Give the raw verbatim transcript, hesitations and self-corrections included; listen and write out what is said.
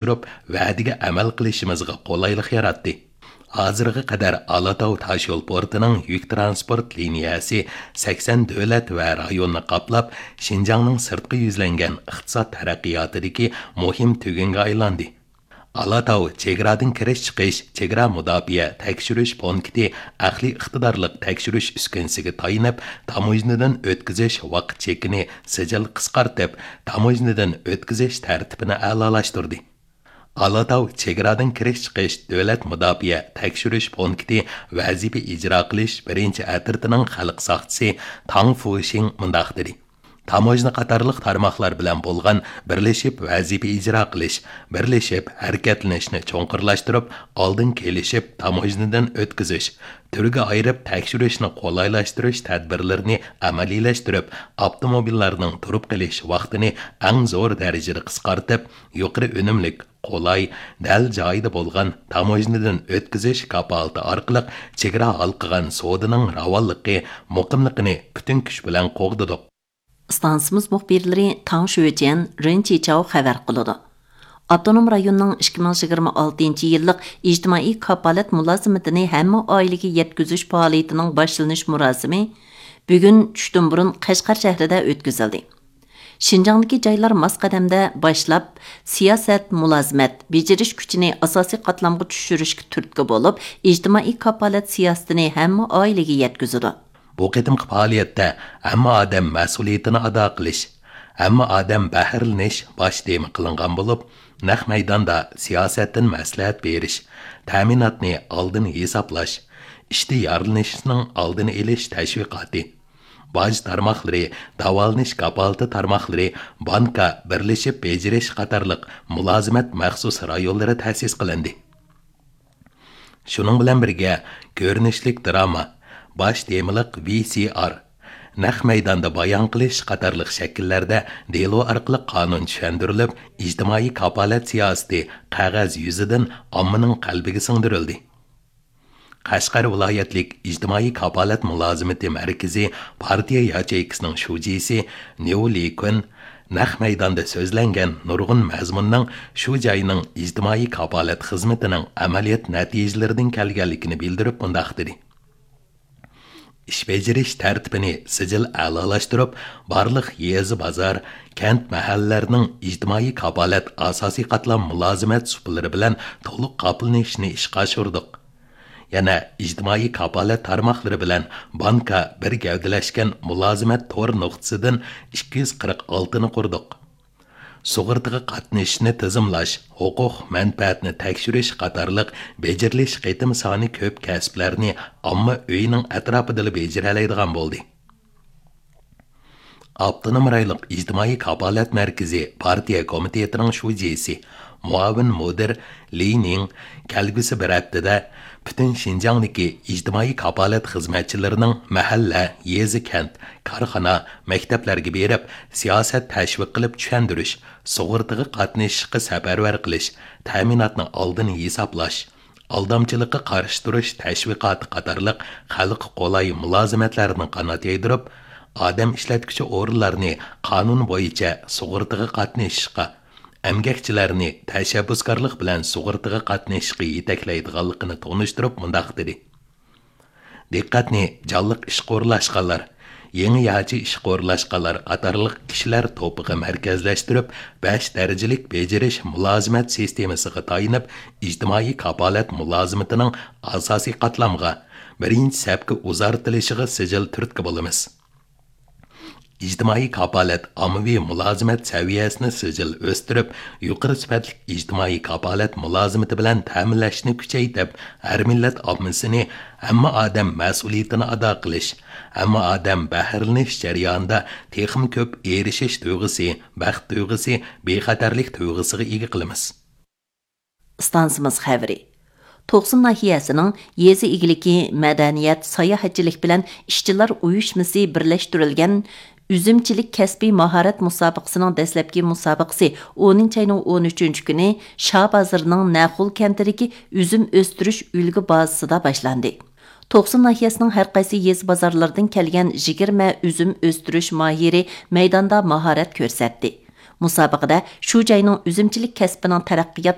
ئاشۇرۇپ، ۋەدىگە ئەمەل قىلىشىمىزغا قولايلىق ياراتتى. ھازىرغا قەدەر ئالاتاۋ تاشيول پورتىنىڭ يۈك تىرانسپورت لىنىيەسى سەكسەن دۆلەت ۋە رايوننى قاپلاپ، شىنجاڭنىڭ سىرتقا يۈزلەنگەن ئىقتىساد تەرەققىياتىدىكى مۇھىم تۈگۈنگە ئايلاندى. ئالاتاۋ چېگرادىن كىرىش-چىقىش، چېگرا مۇداپىئە تەكشۈرۈش پونكىتى ئەقلىي ئىقتىدارلىق تەكشۈرۈش ئۈسكۈنىسىگە تايىنىپ، تاموژنىدىن ئۆتكۈزۈش ۋاقىت چېكىنى سىجىل قىسقارتىپ، تاموژنىدىن ئۆتكۈزۈش تەرتىپىنى ئەلالاشتۇردى. ئالاتاۋ چېگرادىن كىرىش-چىقىش دۆلەت مۇداپىئە تەكشۈرۈش پونكىتى ۋەزىپە ئىجرا قىلىش بىرىنچى ئەترىتىنىڭ خەلق ساقچىسى تاڭ فۇشىڭ مۇنداق دېدى: تاموژنا قاتارلىق تارماقلار بىلەن بولغان بىرلىشىپ ۋەزىپە ئىجرا قىلىش، بىرلىشىپ ھەرىكەتلىنىشنى چوڭقۇرلاشتۇرۇپ، ئالدىن كېلىشىپ تاموژنىدىن ئۆتكۈزۈش، تۈرگە ئايرىپ تەكشۈرۈشنى قولايلاشتۇرۇش تەدبىرلىرىنى ئەمەلىيلەشتۈرۈپ، ئاپتوموبىللارنىڭ تۇرۇپ قېلىش ۋاقتىنى ئەڭ زور دەرىجىدە قىسقارتىپ، يۇقىرى ئۈنۈملۈك، قولاي، دەل جايىدا بولغان تاموژنىدىن ئۆتكۈزۈش كاپالىتى ئارقىلىق چېگرا ھالقىغان سودىنىڭ راۋانلىقى، مۇقىملىقىنى پۈتۈن كۈچ بىلەن قوغدىدۇق. ئىستانسىمىز مۇخبىرلىرى تاڭ شۆجيەن، رېن چىچاۋ خەۋەر قىلىدۇ. ئاپتونوم رايوننىڭ ئىككى مىڭ يىگىرمە ئالتىنچى يىللىق ئىجتىمائىي كاپالەت مۇلازىمىتىنى ھەممە ئائىلىگە يەتكۈزۈش پائالىيىتىنىڭ باشلىنىش مۇراسىمى بۈگۈن چۈشتىن بۇرۇن قەشقەر شەھىرىدە ئۆتكۈزۈلدى. شىنجاڭدىكى جايلار ماس قەدەمدە باشلاپ، سىياسەت، مۇلازىمەت، بېجىرىش كۈچىنى ئاساسىي قاتلامغا چۈشۈرۈشكە تۈرتكە بولۇپ، ئىجتىمائىي كاپالەت سىياسىتىنى ھەممە ئائىلىگە يەتكۈزىدۇ. بۇ قېتىمقى پائالىيەتتە ھەممە ئادەم مەسئۇلىيىتىنى ئادا قىلىش، ھەممە ئادەم بەھرىلىنىش باش تېما قىلىنغان بولۇپ، نەق مەيداندا سىياسەتتىن مەسلىھەت بېرىش، تەمىناتنى ئالدىن ھېسابلاش، ئىشتا يارىلىنىشنىڭ ئالدىنى ئېلىش تەشۋىقاتى، باج تارماقلىرى، داۋالىنىش كاپالىتى تارماقلىرى، بانكا، بىرلىشىپ بېجىرىش قاتارلىق مۇلازىمەت مەخسۇس رايونلىرى تەسىس قىلىندى. شۇنىڭ بىلەن بىرگە، كۆرۈنۈشلۈك دىراما، باش تېمىلىق ۋى سى ئار، نەق مەيداندا بايان قىلىش قاتارلىق شەكىللەردە دېلو ئارقىلىق قانۇن چۈشەندۈرۈلۈپ، ئىجتىمائىي كاپالەت سىياسىتى قەغەز يۈزىدىن ئاممىنىڭ قەلبىگە سىڭدۈرۈلدى. قەشقەر ۋىلايەتلىك ئىجتىمائىي كاپالەت مۇلازىمىتى مەركىزى پارتىيە ياچېيكىسىنىڭ شۇجىسى نيۇ لى كۈن نەق مەيداندا سۆزلەنگەن نۇرغۇن مەزمۇننىڭ شۇ جاينىڭ ئىجتىمائىي كاپالەت خىزمىتىنىڭ ئەمەلىيەت نەتىجىلىرىدىن كەلگەنلىكىنى بىلدۈرۈپ مۇنداق دېدى: ئىش بېجىرىش تەرتىپىنى سىجىل ئەلالاشتۇرۇپ، بارلىق يېزا، بازار، كەنت، مەھەللىلەرنىڭ ئىجتىمائىي كاپالەت ئاساسىي قاتلام مۇلازىمەت سۇپىلىرى بىلەن تولۇق قاپلىنىشىنى ئىشقا ئاشۇردۇق. يەنە ئىجتىمائىي كاپالەت تارماقلىرى بىلەن بانكا بىر گەۋدىلەشكەن مۇلازىمەت تور نۇقتىسىدىن ئىككى يۈز قىرىق ئالتىنى قۇردۇق. سۇغۇرتىغا قاتنىشىشنى تىزىملاش، ھوقۇق مەنپەئەتنى تەكشۈرۈش قاتارلىق بېجىرىلىش قېتىم سانى كۆپ كەسىپلەرنى ئامما ئۆيىنىڭ ئەتراپىدىلا بېجىرەلەيدىغان بولدى. ئاپتونوم رايونلۇق ئىجتىمائىي كاپالەت مەركىزى پارتىيە كومىتېتىنىڭ شۇجىسى، مۇئاۋىن مۇدىر لى نىڭ كەلگۈسى بىر ھەپتىدە پۈتۈن شىنجاڭدىكى ئىجتىمائىي كاپالەت خىزمەتچىلىرىنىڭ مەھەللە، يېزا، كەنت، كارخانا، مەكتەپلەرگە بېرىپ، سىياسەت تەشۋىق قىلىپ چۈشەندۈرۈش، سۇغۇرتىغا قاتنىشىشقا سەپەرۋەر قىلىش، تەمىناتنى ئالدىن ھېسابلاش، ئالدامچىلىققا قارشى تۇرۇش تەشۋىقاتى قاتارلىق خەلققە قولاي مۇلازىمەتلەرنى قانات يايدۇرۇپ، ئادەم ئىشلەتكۈچى ئورۇنلارنى قانۇن بويىچە سۇغۇرتىغا قاتنىشىشقا، ئەمگەكچىلەرنى تەشەببۇسكارلىق بىلەن سۇغۇرتىغا قاتنىشىشقا يېتەكلەيدىغانلىقىنى تونۇشتۇرۇپ مۇنداق دېدى: دىققەتنى جانلىق ئىشقا ئورۇنلاشقانلار، يېڭى ياچى ئىشقا ئورۇنلاشقانلار قاتارلىق كىشىلەر توپىغا مەركەزلەشتۈرۈپ، بەش دەرىجىلىك بېجىرىش مۇلازىمەت سىستېمىسىغا تايىنىپ، ئىجتىمائىي كاپالەت مۇلازىمىتىنىڭ ئاساسىي قاتلامغا، بىرىنچى سەپكە ئۇزارتىلىشىغا سىجىل تۈرتكە بولىمىز. ئىجتىمائىي كاپالەت ئاممىۋى مۇلازىمەت سەۋىيەسىنى سىجىل ئۆستۈرۈپ، يۇقىرى سۈپەتلىك ئىجتىمائىي كاپالەت مۇلازىمىتى بىلەن تەمىنلەشنى كۈچەيتىپ، ھەر مىللەت ئاممىسىنى، ھەممە ئادەم مەسئۇلىيىتىنى ئادا قىلىش، ھەممە ئادەم بەھرىلىنىش جەريانىدا تېخىمۇ كۆپ ئېرىشىش تۇيغۇسى، بەخت تۇيغۇسى، بىخەتەرلىك تۇيغۇسىغا ئىگە قىلىمىز. ئىستانسىمىز خەۋىرى. توقسۇن ناھىيەسىنىڭ يېزا ئىگىلىكى، مەدەنىيەت، ساياھەتچىلىك بىلەن ئىشچىلار ئۇيۇشمىسى بىرلەشتۈرۈلگەن ئۈزۈمچىلىك كەسپىي ماھارەت مۇسابىقىسىنىڭ دەسلەپكى مۇسابىقىسى ئونىنچى ئاينىڭ ئون ئۈچىنچى كۈنى شاھ بازىرىنىڭ نەخۇل كەنتىدىكى ئۈزۈم ئۆستۈرۈش ئۈلگە بازىسىدا باشلاندى. توقسۇن ناھىيەسىنىڭ ھەر قايسى يېزا بازارلىرىدىن كەلگەن يىگىرمە ئۈزۈم ئۆستۈرۈش ماھىرى مەيداندا ماھارەت كۆرسەتتى. مۇسابىقىدە شۇ جاينىڭ ئۈزۈمچىلىك كەسپىنىڭ تەرەققىيات